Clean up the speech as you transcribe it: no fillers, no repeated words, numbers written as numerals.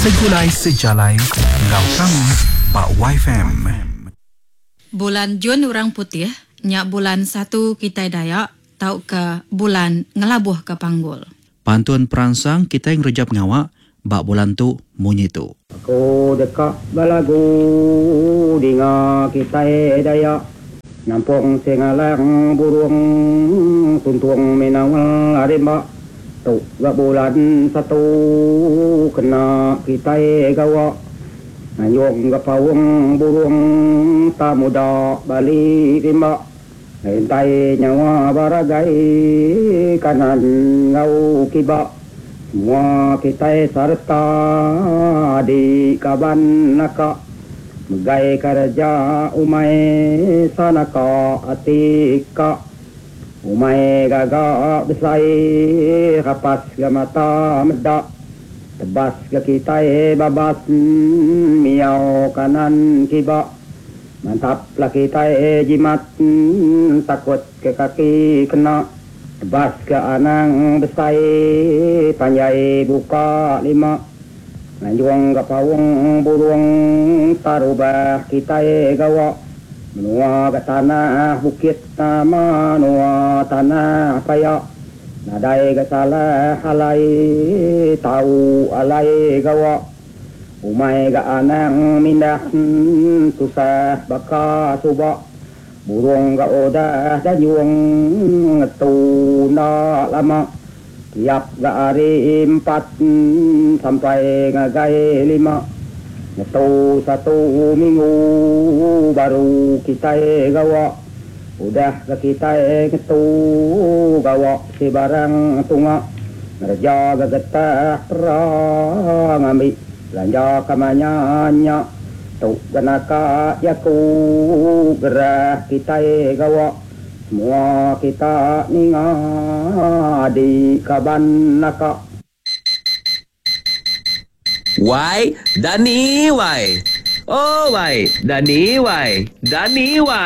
Segulai sejalai enggau kami ba Waifm. Bulan Jun orang putih nya bulan satu kitai Dayak tauka bulan ngelabuhka panggul. Pantun peransang kitai ngereja pengawa ba bulan tu munyi tu. Aku deka belagu dinga kitai Dayak Nampung Singalang Burung Tuntung Minawal Arimba tu ga bulan satu kena kitai gawa Nganjung ga paung burung tamuda bali rimba Rintai nyawa baragai kanan enggau kiba Semua kitai sareta adi kaban naka Megai kereja umai sanaka ati ka Umai gaga besai rapas ga mata meda Tebas ga kitai babas miau kanan kiba. Mantap la kitai jimat takut ke kaki kena tebas ke anang besai panjai buka lima nganjung ga paung burung tarubah kitai gawa menua ga tanah bukit menua tanah paya nadai ga salah alai tau alai gawa. Umai ga anang mindah tusah baka suba. Burung ga udah danjung ngetu enda lama. Tiap ga hari empat sampai ngagai lima. Ngetu satu minggu baru kitai gawa. Udah ga kitai ngetu gawa sebarang tunga. Ngereja ga getah pera ngambi belanja ka manya nya. Tu ga naka jaku gerah kitai gawa. Semua kita ninga adi kaban naka. Wai dani wai. Oh wai dani wai dani wai.